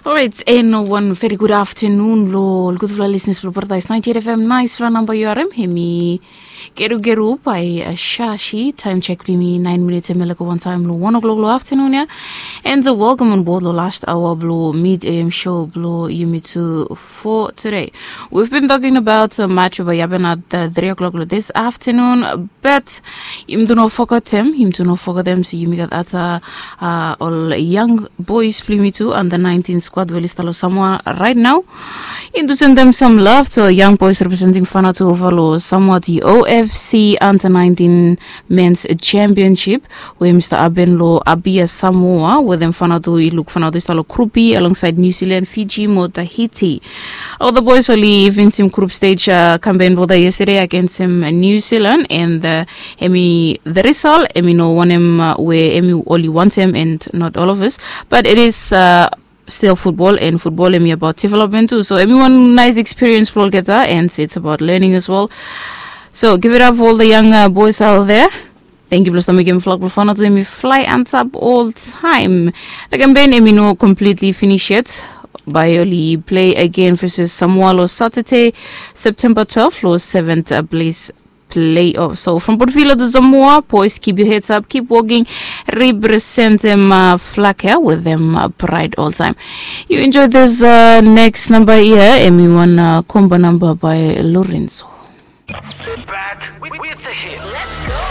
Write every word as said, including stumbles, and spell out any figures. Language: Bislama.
Orait, en wan veri gud aftanun lo ol gudfala lisnis blo Paradise ninety-eight F M. Naisfala namba yu harem, hemi Gerugeru by Shashi. Taem jek blo yumi naen minits hemi laek go wantaem lo wan o'clock lo aftanun ya. And welcome on board lo last hour blo Mid A M show blo yumi tu for today. We've been talking about match we bae i hapen at three o'clock lo this afternoon. But yumi tu no fogetem, yumi tu no fogetem se yumi gat ata ol young boys blo yumi tu, under nineteen squad we oli stap lo Samoa right now. Yumi tu sendem sam love to young boys representing Vanuatu ova lo Samoa, the O F C under nineteen men's championship we hemi stap hapen lo Apia, Samoa, we them Vanuatu i luk Vanuatu i stap lo Group B alongside New Zealand, Fiji mo Tahiti. Ol the boys oli finisem group stage kampen blo them yesterday agensem New Zealand, and hemi the result hemi no wanem we hemi oli wantem, and not all of us, but it is still football, and football hemi about development tu. So hemi wan nice experience blo olgeta, and it's about learning as well. So give it up for all the young boys out there. Thank you blo stap mekem flag blo Vanuatu hemi fly antap oltaem. The kampen hemi no completely finish yet. Bae oli play again versus Samoa lo Saturday, September twelve, lo seventh place playoff. So from Port Vila to Samoa, boys, keep your heads up, keep working, representem flag ya with them pride oltaem. You enjoy this next number here, hemi wan komba namba by Lorenzo. Back with the hits.